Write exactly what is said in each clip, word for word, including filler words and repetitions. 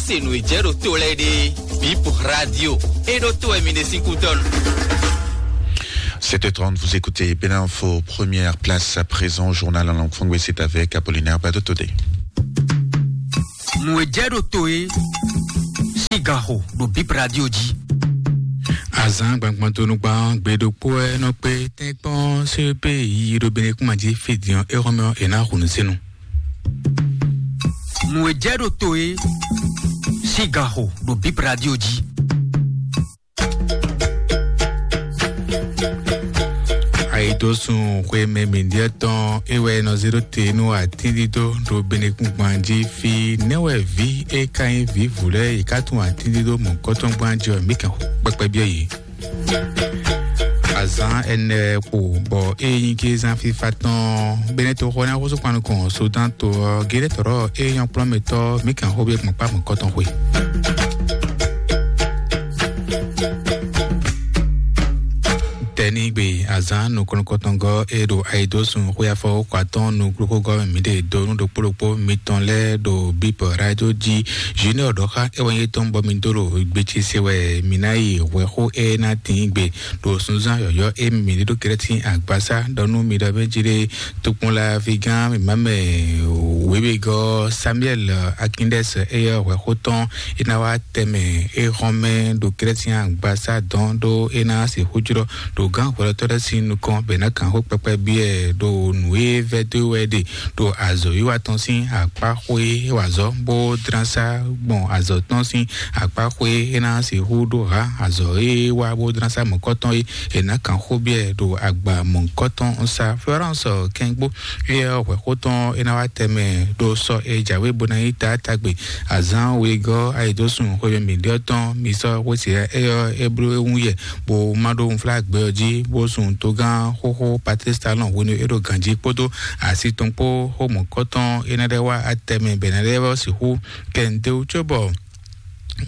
Se nǔ e jɛ ɖo to lɛ́ɛ ɖe, Bip Radio, e ɖo to wɛ mi ɖe sín kútɔ́ nú. Sept heures trente, vous écoutez Bénin Info, première place à présent au journal en langue française, c'est avec Apollinaire Badotodé. Nǔ e jɛ ɖo to e, sigaxo ɖo Bip Radio jí. Azǎn gbangban tó nú gbán gbe ɖokpó wɛ nɔ kpé tɛ́nkpɔ́n C P I ɖo Benekúnma jí fí din ɔ́, é xɔ́mɛ ɔ́, è nǎ hu nǔ sínú. Nǔ e jɛ ɖo to e, sigaxo ɖo Bip Radio jí. Ayidosùn xwemɛ mǐndíɛ tɔn é wɛ nɔ zé ɖó te nú atíndídó ɖo Benekúngban jí fí. Nɛ́ wɛ vǐ é ka nyí vǐvǔ lɛ́ɛ yě ká tunwun atíndídó mɔ̌kɔtɔn gbán jí ɔ́, mǐ kɛn kpɛkpɛ byɔ́ yě. Azǎn ɛnɛ kpo bɔ é nyí gézán fífá tɔn Benɛtoxo ná xósú kpan nukɔn Sudan to ɔ́, Gédétɔ́rɔ é nyɔ́ kplɔ́nmɛtɔ́ Mika xó bí gbɔn kpá mɔ̌kɔtɔn xwe. Tɛnigbe azǎn nukɔn nukɔntɔngɔ́ e ɖo ayidosùn xwé afɔ kɔ atɔ́ɔ́n nukúnxógɔ́ mɛ mǐ ɖe dó nú ɖokpó ɖokpó mitɔn lɛ́ɛ ɖo Bíbɔ rádió jí. Junior ɖɔ xá é wɛ nyí tɔn bɔ mi dó ɖo gbe ce se wɛ mǐ ná yi hwɛxó e ná tín gbe ɖo sunzán yɔ̌yɔ́ e mǐ ɖe ɖó Krɛ́tin agbasá ɖɔ nú mi ɖɔ mɛ jí ɖé. Tokpɔnla vigán mǐmá mɛ wěwegɔ́ Samuel Akindɛs eyɔ́ hwɛxó tɔn é ná wá tɛmɛ é hɔn mɛ ɖo Krɛ́tin agbasá dɔn ɖó é ná sixú jlɔ́ ɖo gǎn hwɛɖɔtɔ́ lɛ́ɛ sín nukɔn bɔ è nǎ kan xó kpɛkpɛ byɔ́ ɛ ɖo nǔ e vɛ́ dó wɛ ɖe ɖo azɔ̌wiwa tɔn sín akpá xwé e wa azɔ̌ bó dlán sá gbɔn azɔ̌ tɔn sín akpá xwé e ná sixú ɖó hǎ azɔ̌ e wa bó dlán sá mɔ̌kɔtɔn é è nǎ kan xó byɔ́ ɛ ɖo agba mɔ̌kɔtɔn sá. Florence Kɛngbó éyɛ́ hwɛxó tɔn é ná wá tɛmɛ ɖo sɔ e jǎwe bó ná nyí taátagbe azǎn wegɔ́ ayidosùn xweyɔmǐɖyɔ́ tɔn mi sɔ́ xwésí éyɔ́ é bló é wún yɛ bó má ɖó wunflágbɛ ɔ́ jí bó sun togán xóxó Patrice Talon hwenu e é ɖo ganjí kpódó asi tɔn kpó xó mɔ̌kɔtɔn é ná ɖɛ́ wá atɛmɛ bɔ é ná ɖɛ́ wá sixú kɛntɛ́wú cóbɔ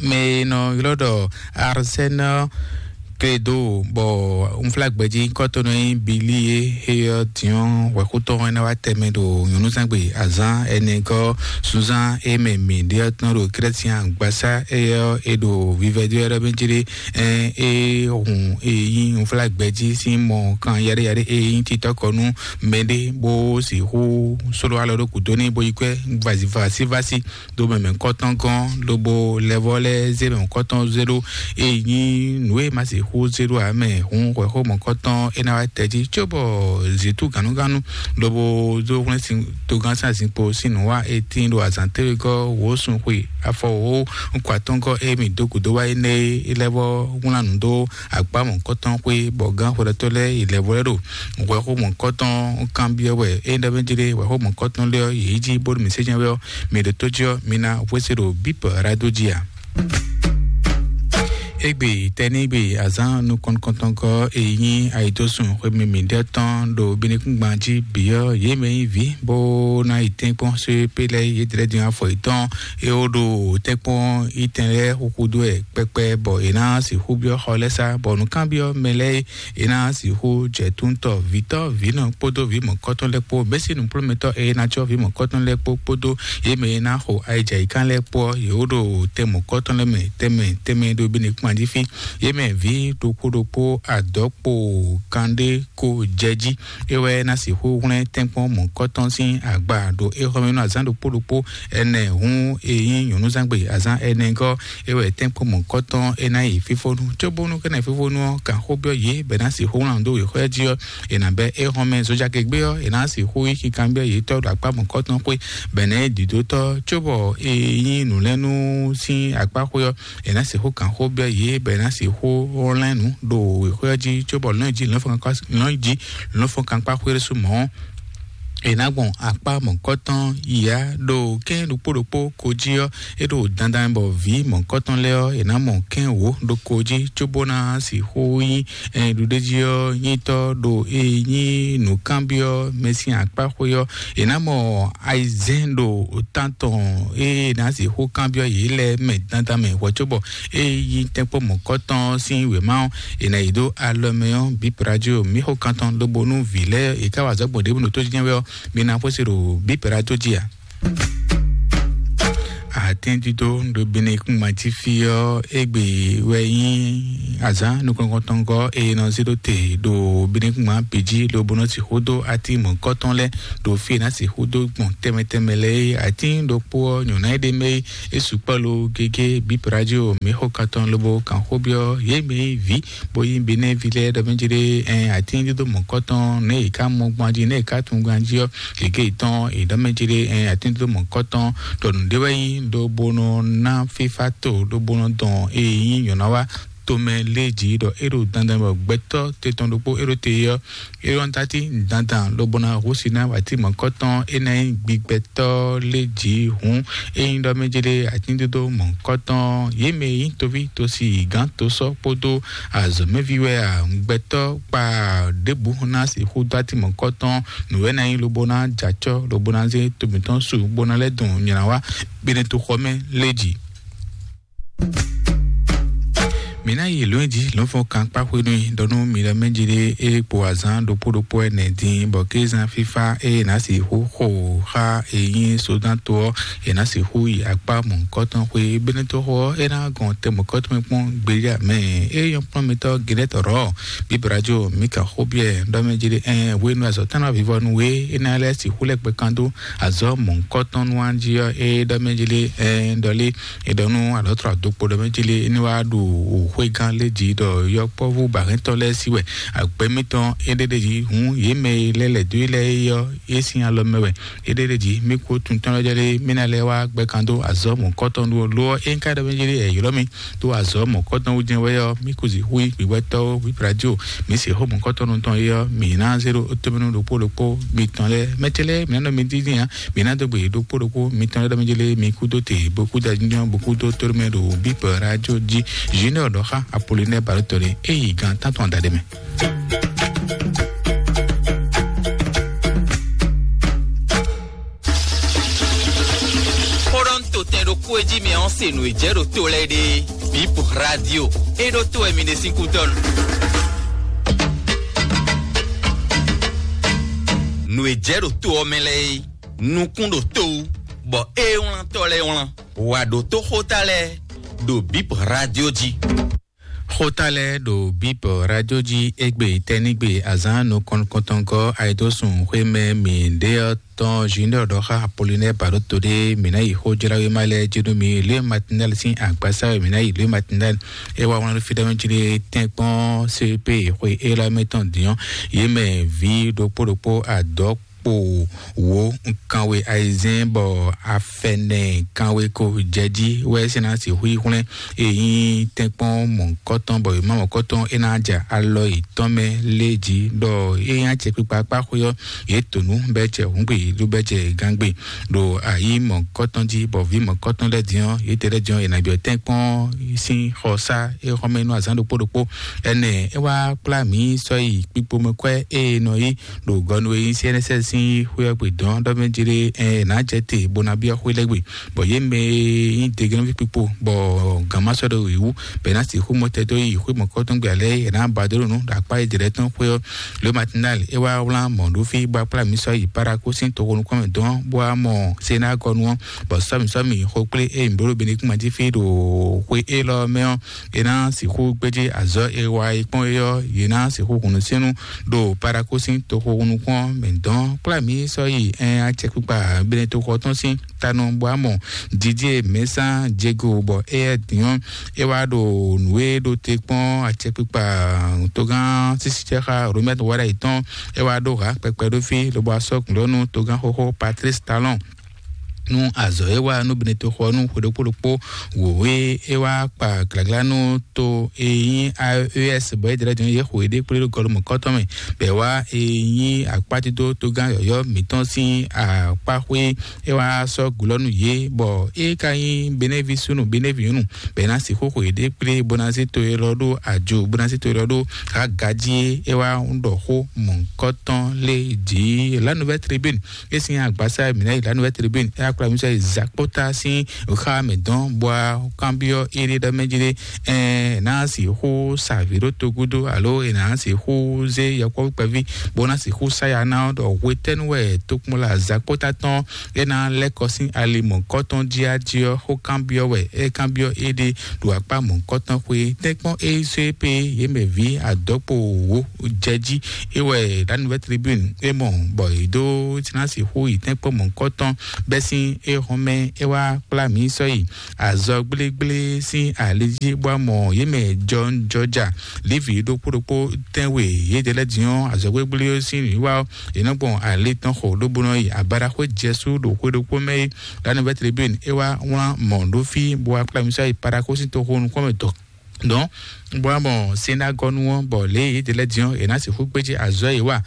mɛ e nɔ ylɔ́ ɖɔ Arsène Credo bɔ unflágbɛjí kɔ́tɔnɔ nyí Bili e heyɔ diɔn hwɛxótɔn e ná wá tɛmɛ ɖo nyɔ̌núzangbe azán ɛnɛgɔ́ sunzán e mɛ mǐ ɖe ɔ́ tɔn ɖo Krɛ́sian agbasá eyɔ e ɖo vivɛdó ɛ́ ɖɔ mɛ jí ɖé. Ɛn e hun e nyí unflágbɛjí sín mɔ kan yaɖéyaɖé e nyí titɔ́kɔ nú mɛɖé bó sixú sóló alɔ ɖó kúdó n'i bó yi kwɛ́ vazivasi vasi ɖo mɛmɛ kɔtɔn gɔn lobo lɛvɔ lɛ zé mɛ kɔtɔn zé ɖo e nyí nǔ e ma se xó zé ɖo amɛ hun hwɛxó mɔ kɔtɔn e na wá tɛjí cóbɔ zitu gannuganu lobo zó hwlɛ́n sin togán sin azinkpo sín nǔ wá e tín ɖo azǎn téwegɔ́ wǒ sun xwe afɔ wǒ nkɔ atɔ́ngɔ́ e mi dó gǔdo wá énɛ́ é lɛvɔ wlán nǔ dó akpá mɔ kɔtɔn xwe bɔ gán hwɛɖɔtɔ́ lɛ́ɛ yi lɛvɔ lɛ ɖo hwɛxó mɔ kɔtɔn kanbyɔ́ wɛ é ɖɔ mɛ jí ɖe hwɛxó mɔ kɔtɔn lɛ́ɛ ɔ́ yě yi jí bónú mǐ sé jɛ́n wɛ ɔ́, mi ɖo tó jí ɔ́, mi ná hwésé ɖo bíp rádo jí a? Égbé tɛnígbe azán nukɔntɔntɔngɔ́ e nyí ayidosùn xwémɛ mǐɖɛtɔn ɖo binukúngban jí bǐ ɔ́, yě mɛ nyí vǐ bó ná yi tɛ́nkpɔ́n só pé lɛ́ɛ yě dlɛ́ din afɔ yětɔn é ó ɖo tɛ́nkpɔ́n yítɛn lɛ́ɛ xúxú dó wɛ kpɛkpɛ bɔ è ná sixú byɔ́ xɔ lɛ́ɛ sá bɔ nǔkanbyɔ́ mɛ lɛ́ɛ é ná sixú jɛ túntɔ vǐtɔ́ vǐnɔ kpódó vǐ mɔ̌kɔtɔn lɛ́ɛ kpó mɛ̌si nǔkplɔ́nmɛtɔ́ e ná cɔ́ vǐ mɔ̌kɔtɔn lɛ́ɛ kpó kpódó yě mɛ e ná xo ayijǎyíkan lɛ́ɛ kpó ɔ́, yě wó ɖo tɛn mɔ̌kɔtɔn lɛ́ɛ mɛ tɛnmɛ tɛnmɛ ɖo Benɛkúnma jí fí. Yě mɛ vǐ ɖokpó ɖokpó adɔ̌kpo kanɖé ko jɛ jí. É wɛ ná sixú hwlɛ́n tɛ́nkpɔ́n mɔ̌kɔtɔn sín agba ɖo éxɔmɛnú azǎn ɖokpó ɖokpó ɛnɛ hǔn e nyí nyɔ̌núzangbe azǎn ɛnɛgɔ́ é wɛ tɛ́nkpɔ́n mɔ̌kɔtɔn é ná yi fífónú cóbónú kɛ́nɛ fífónú ɔ́ kan xó byɔ́ yě bɔ è ná sixú wlán dó wěxɔ́ jí ɔ́, è nǎ bɛ́ é hɔn mɛ zojagegbe ɔ́, è nǎ sixú yí kinkanbyɔ́ yětɔn ɖo akpá mɔ̌kɔtɔn xwé bɔ è nǎ yi dǐdótɔ́ cóbɔ è nyí nǔlɛ́nú sín akpá xwé ɔ́, è nǎ sixú kan xó byɔ́ yě bɔ è nǎ sixú lɛ́n nǔ ɖo wěxɔ́ jí cóbɔ lɔ̌n jí lɔ̌n fɔ́n kankpá xwé ɖésú mɔ̌. È nǎ gbɔn akpá mɔ̌kɔtɔn yǎ ɖo kɛ́n ɖokpó ɖokpó ko jí ɔ́, é ɖo dandan bɔ vǐ mɔ̌kɔtɔn lɛ́ɛ ɔ́, è nǎ mɔ kɛ́n wǒ ɖokó jí cóbó ná sixú nyí ɖuɖéjí ɔ́ nyítɔ́ ɖo e nyí nǔkanbyɔ́ mɛ sín akpá xwé ɔ́. È nǎ mɔ ayizɛ́n ɖo tán tɔn e è nǎ sixú kanbyɔ́ yě lɛ́ɛ mɛ dandan mɛ hwɛ̌ cóbɔ e nyí tɛ́nkpɔ́ mɔ̌kɔtɔn sín wěma ɔ́, è nǎ yi dó alɔ mɛ ɔ́ bǐ prajo mǐ xo kan tɔn lobo nú vǐ lɛ́ɛ è ká wa azɔ̌ gbɔn ɖěbǔ ɖo tó jínjɛ́n wɛ ɔ́, mi ná xwésí ɖo bǐ prajo jí ǎ. Atɛ́ndídó ɖo Benekúngban jí fí ɔ́, égbé wɛ nyí azǎn nukɔntɔngɔ́ e nɔ zé ɖó te ɖo Benekúngban bǐ jí, lobo nɔ sixú dó atí mɔ̌kɔtɔn lɛ́ɛ ɖo fí e ná sixú dó gbɔn tɛnmɛ tɛnmɛ lɛ́ɛ é. Atín ɖokpó ɔ́, nyɔ̌ná e ɖ'é mɛ é, é sukpɔ́ lo gégé. Bíp Radio mǐ xo kan tɔn lobo kan xó byɔ́ yě mɛ e nyí vǐ bó nyí Benɛ́ví lɛ́ɛ ɖɔ mɛ jí ɖé, ɛn atín dídó mɔ̌kɔtɔn nɛ̌ è ká mɔ gbɔn jí, nɛ̌ è ká tunwun gbɔn jí ɔ́, gěgé yětɔn è ɖɔ mɛ jí ɖé, ɛn atín dídó mɔ̌kɔtɔn ɖɔ nǔɖé wɛ nyí ɖó bó nɔ ná fífá to ɖó bó nɔ dɔn e nyí nyɔ̌ná wá tomɛ lé jí ɖɔ é ɖo dandan bɔ gbɛtɔ́ te tɔn ɖokpó é ɖo te ɔ́, é ɖɔ tati dandan lobo ná húsi ná wǎtí mɔ̌kɔtɔn é ná nyí gbigbɛtɔ́ lé jí hǔn. Ényí ɖɔ mɛ jí ɖé atíndódó mɔ̌kɔtɔn yě mɛ nyí toví tosi gǎn tosɔ́ kpódó azɔ̌mɛví wɛ a, gbɛtɔ́ kpa ɖěbǔ ná sixú dó atí mɔ̌kɔtɔn nǔwɛ ná nyí lobo ná jɛ acɔ́ lobo ná zé to mǐtɔn su bó ná lɛ́ dɔn nylá wá gbénɛ́ toxɔ mɛ lé jí. Mǐ ná yi lǒnji lɔ̌nfɔ́n kan kpá xwé nú i ɖɔ nú mi lɛ́ mɛ jí ɖé é kpo azǎn ɖokpó ɖokpó ɛnɛ dín bɔ kézán fífá é ná sixú xo xá e nyí sódán to ɔ́, è nǎ sixú yi akpá mɔ̌hunkɔtɔn xwé. Benɛ́tɔ́xo ɔ́, é ná gɔn tɛ mɔ̌hunkɔtɔn mɛ kpɔ́n gbéjá mɛ. É nyɔ́ kplɔ́n mitɔ́ Gilɛ́tɔ́ Bíbrajo Mika Xóbiɛ ɖɔ mɛ jí ɖé, ɛn hwenu azɔ̌ tɔn ná vivɔ nú we, é ná lɛ́ sixú lɛ́ gbɛ kan dó azɔ̌ mɔ̌hunkɔtɔn nú an jí ɔ́, é ɖɔ mɛ jí ɖé, ɛn ɖɔ lé, é ɖɔ nú alɔ̌tlɔ adokpo ɖɔ mɛ jí lé, é ní wá ɖo xwégán lé jí ɖɔ yɔkpɔ́vú bahɛ́ntɔ́ lɛ́ɛ sí wɛ agbɛ́ mitɔn é ɖé ɖé jí hǔn yě mɛ e lɛ́ lɛ̌ dó é lɛ́ɛ é ɔ́, é sín alɔ mɛ wɛ. Éɖée jí mí kú tunwun tɔn lɛ́ɛ jɛ ɖé mí ná lɛ́ wá gbɛ kan dó azɔ̌ mɔ̌kɔtɔn ɖó lo ɔ́, é ká ɖɔ mɛ jɛ ɖé ylɔ́ mì dó azɔ̌ mɔ̌kɔtɔn wú jɛ́n wɛ ɔ́, mí kú zi hu yi gbǐgbɛ́tɔ́ wú Bíbrajo, mǐ se xó mɔ̌kɔtɔn tɔn é ɔ́, mǐ ná zé ɖó tómɛnú ɖokpó ɖokpó mitɔn lɛ́ɛ. Mɛ ce lɛ́ɛ mǐ ná nɔ mi dín ǎ, mǐ ná dó gbe yě ɖokpó ɖokpó mitɔn lɛ́ɛ ɖɔ mɛ jɛ ɖé mǐ kú dó te bó kú da jínjɔ́n bó kú dó tómɛ ɖo Bíbrajo jí. Junior ɖɔ xá Apolinɛ́ɛ Balótɔ́ ɖé é yi gǎn tántɔn adaɖé mɛ. Xó ɖɔ nú totɛn ɖokpó e jí mi ɔ́ se nǔ e jɛ ɖo to lɛ́ɛ ɖe. Bip Radio, é ɖó to wɛ mi ɖe sín kútɔ́ nu. Nǔ e jɛ ɖo to ɔ́ mɛ lɛ́ɛ é, nukún ɖo to wú, bɔ é wlán tɔ́ lɛ́ɛ wlán. Wǎ ɖó tó xóta lɛ́ɛ ɖo Bip Radio jí. Xóta lɛ́ɛ ɖo Bíbɔ Radio jí égbé tɛ́nígbe azǎn nukɔn nukɔntɔngɔ́ ayidosùn xwé mɛ mǐ ɖe ɔ́ tɔn Junior ɖɔ xá Apolinɛ́ɛ Baɖóto ɖé mǐ ná yi xó jlá wéma lɛ́ɛ jí nú mi. Lě Matinɛ́li sín agbasá wɛ mǐ ná yi. Lě Matinɛ́li é wá wlán ɖó fí ɖɔ mɛ jí ɖé tɛ́nkpɔ́n C P xwe élɔ́ mɛ tɔn dǐn ɔ́, yě mɛ vǐ ɖokpó ɖokpó adɔ̌ kpo wǒ kanwe ayizɛ́n bɔ afɛnɛ kanwe ko jɛ jí wɛ é sɛ́ ná sixú yi hwlɛ́n e nyí tɛ́nkpɔ́n mɔ̌kɔtɔn bɔ yě má mɔ̌kɔtɔn é ná ja alɔ yětɔn mɛ lé jí ɖɔ é nyí acɛkpikpa kpá xwé ɔ́, yě to nǔ bɛ́ jɛ hǔngbe ɖó bɛ́ jɛ gángbe ɖo ayǐ mɔ̌kɔtɔn jí bɔ vǐ mɔ̌kɔtɔn lɛ́ɛ din ɔ́, yě tɛ lɛ́ɛ din ɔ́, yě ná byɔ́ tɛ́nkpɔ́n sín xɔsá é xɔ́mɛ nú azǎn ɖokpó ɖokpó. Ɛnɛ é wá kplá mǐ sɔ́ yi kpikpomɛkwɛ́ e nɔ yí ɖo gɔnu e nyí C N S S sín xwé ɔ́ gbe dɔn ɖɔ mɛ jí ɖé, ɛ nǎ jɛ te bó ná byɔ́ xwé lɛ́ɛ gbe, bɔ yě mɛ e nyí degenɔví kpikpo bɔ gǎn ma sɔ́ ɖo yě wú, bɔ è nǎ sixú mɔ tɛ́ dó yi xwé mɔ̌kɔtɔn gbe alɛ e è nǎ ba dó ɖo nǔ ɖo akpá e jlɛ̌ tɔn xwé ɔ́. Lě Matinali é wá wlán mɔ̌ ɖó fí bó wá kplá mǐ sɔ́ yi Paraku sín toxo nukɔn mɛ dɔn bó wá mɔ Senagɔnu ɔ́, bɔ sɔ́mi sɔ́mi xo kplé e mǐ bló ɖo Benekúma jí fí ɖo xwe élɔ́ mɛ ɔ́, è nǎ sixú gbéjé azɔ̌ e wa e kpɔ́n é ɔ́, yě ná sixú hun nǔsínnú ɖo Paraku sín toxo nukún ɔ́ mɛ dɔn. Kplá mǐ sɔ́ yi ɛn acɛkpikpa Benetoxɔ tɔn sín tanɔ bɔ amɔ Didier Mɛsán Diego bɔ éyɛ́ din ɔ́, é wá ɖo nǔ e ɖo te kpɔ́n acɛkpikpa togán sísícɛ́xá Romɛ́t Wáɖa yětɔn, é wá ɖó hǎ kpɛkpɛ ɖó fí lobo asɔ́ gǔlɔ́nú togán xóxó Patrice Talon nú azɔ̌ e wa nú Benetoxɔ nú xwe ɖokpó ɖokpó wǒ e é wá kpa glǎglá nú to e nyí A E S bɔ é jlɛ́ din yě xo yěɖée kplé ɖo gɔlumɔ̌kɔ́tɔn mɛ, bɔ é wá e nyí akpátídó togán yɔ̌yɔ́ mǐtɔn sín akpá xwé, é wá sɔ́ gǔlɔ́ nú yě, bɔ é ka nyí Benɛ́ví súnnu Benɛ́ví nyɔ̌nu, bɔ é ná sixú xo yěɖée kplé bó ná zé to élɔ́ ɖó ajo, bó ná zé to élɔ́ ɖó hǎ gají é wá ɖɔ xó mɔ̌kɔ́tɔn lé jǐ. La Nouvelle Tribune é sín agbasá mǐ ná yi La Nouvelle Tribune é wá kplɔ́nmísɔ yi Zakpota sín xá mɛ dɔn bɔ kanbyɔ́ éɖé ɖɔ mɛ jí ɖé, ɛ ná sixú sa vǐ ɖó togúdo alo è nǎ sixú zé yɔkpɔ́vú kpɛví bó ná sixú sa ya ná ɔ́ ɖɔ hwetɛ́nu wɛ tokpɔnla Zakpota tɔn é ná lɛ́ kɔ sín ali mɔ̌kɔtɔn jí á jí ɔ́, xó kanbyɔ́ wɛ é kanbyɔ́ éɖée ɖo akpá mɔ̌kɔtɔn xwe tɛ́nkpɔ́n é sɔ́ é pé yě mɛ vǐ adɔkpo wǒ jɛ jí. É wɛ la Nouvelle Tribune é mɔ bɔ yě dó ná sixú yi tɛ́nkpɔ́n mɔ̌kɔtɔn bɛ́ sín é hɔn mɛ é wá kplá mǐ sɔ́ yi azɔ gblégblé sín ali jí bó wá mɔ yě mɛ jɔnjɔja Levi ɖokpó ɖokpó tɛ́nwe yědɛɛ lɛ́ɛ din ɔ́, azɔ̌ gbégbélé ɔ́ sín nǔwiwa ɔ́, è nɔ gbɔn ali tɔn xo lóbó nɔ yi abadaxwé jɛsú ɖo xwé ɖokpó mɛ é. La Nouvelle Tribune é wá wlán mɔ̌ ɖó fí bó wá kplá mì sɔ́ yi Paraxó sín toxo nukɔn mɛ dɔn dɔn bó wá mɔ sɛ́ndágɔ́nú ɔ́, bɔ lě e yědɛɛ lɛ́ɛ din ɔ́, è nǎ sixú gbéjé azɔ̌ e wa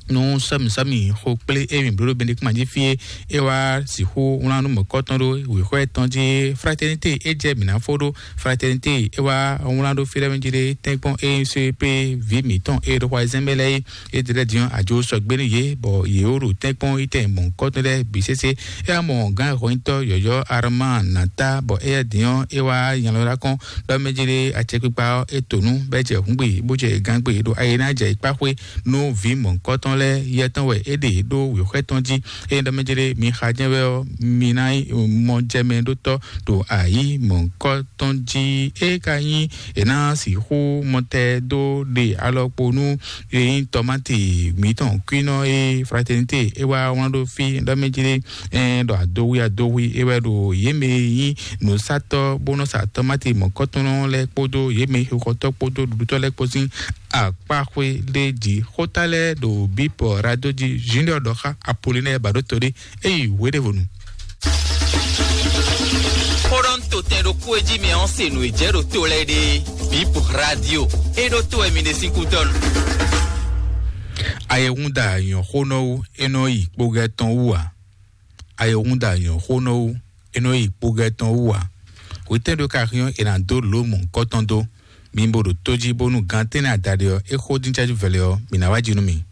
nú sɔ́mǐsɔ́mǐ xo kplé émí blóɖó Benedikt jí fí é. É wá sixú wlán nú mɔ̌kɔtɔn ɖó wěxɔ tɔn jí. Fraternité é jɛ mǐ ná fó ɖó. Fraternité é wá wlán ɖó fí lɛ́ɛ mɛ jí ɖé tɛ́nkpɔ́n é sɔ́ pé vǐ mǐtɔn é ɖo xwazɛ́n mɛ lɛ́ɛ é. É ɖi lɛ́ɛ din ɔ́, ajo sɔgbe nú yě, bɔ yě wó ɖo tɛ́nkpɔ́n yi tɛn mɔ̌kɔtɔn lɛ́ɛ bǐ sésé. É wá mɔ gǎn xɔnyitɔ́ yɔ̌yɔ́ Armán Nata, bɔ éyɛ́ din ɔ́, é wá nya lɔ ɖó akɔ́n ɖɔ mɛ jí ɖé acɛkpikpa ɔ́, é to nú bɔ é jɛ hǔngbe bó jɛ gangbe ɖo ayi ná jɛ ikpá xwé nú vǐ mɔ̌hunkɔtɔn lɛ́ɛ. Yɛ tɔn wɛ é ɖe ɖó wěxwɛ́ tɔn jí. Ényí ɖɔ mɛ jí ɖé mi xa jɛ́n wɛ ɔ́, mi ná mɔ jɛ mɛ ɖó tɔ́ ɖo ayǐ mɔ̌hunkɔtɔn jí. É ka nyí è nǎ sixú mɔtɛ dó ɖe alɔkpo nú ényí tɔmáti mǐtɔn kwínɔ e Fraternité é wá wlán ɖó fí ɖɔ mɛ jí ɖé, ɛ ɖɔ adohwi adohwi é wɛ ɖo yě mɛ e nyí nǔsatɔ́ bó nɔ sa tɔmáti mɔ̌kɔtɔn lɛ́ɛ kpódó yě mɛ xixɔtɔ́ kpódó ɖuɖutɔ́ lɛ́ɛ kpó sín akpáxwé ɖé jí. Xóta lɛ́ɛ ɖo bípɔ rado jí Junior ɖɔ xá Apolinɛ́ɛ Baɖótolí é yi hweɖěvonu. Xó ɖɔ ń to tɛn ɖokpó e jí mi ɔ́ se nǔ e jɛ ɖo to lɛ́ɛ ɖe. Bípɔ radio é ɖó to wɛ mi ɖe sín kútɔ́nu. Ayɛhúnda nyɔ̌xónɔ wú é nɔ yi kpogɛ tɔn wú ǎ. Ayɛhúnda nyɔ̌xónɔ wú é nɔ yi kpogɛ tɔn wú ǎ. Hwetɛ́n ɖo ka xyɔ́n è nǎ dó lǒ mɔ̌hunkɔtɔn dó? Mi bo ɖo tó jí bónú gan tɛ́nnɛ adaɖé ɔ́, é xó dín cájú vɛlɛ ɔ́, mǐ ná wá jí nú mi.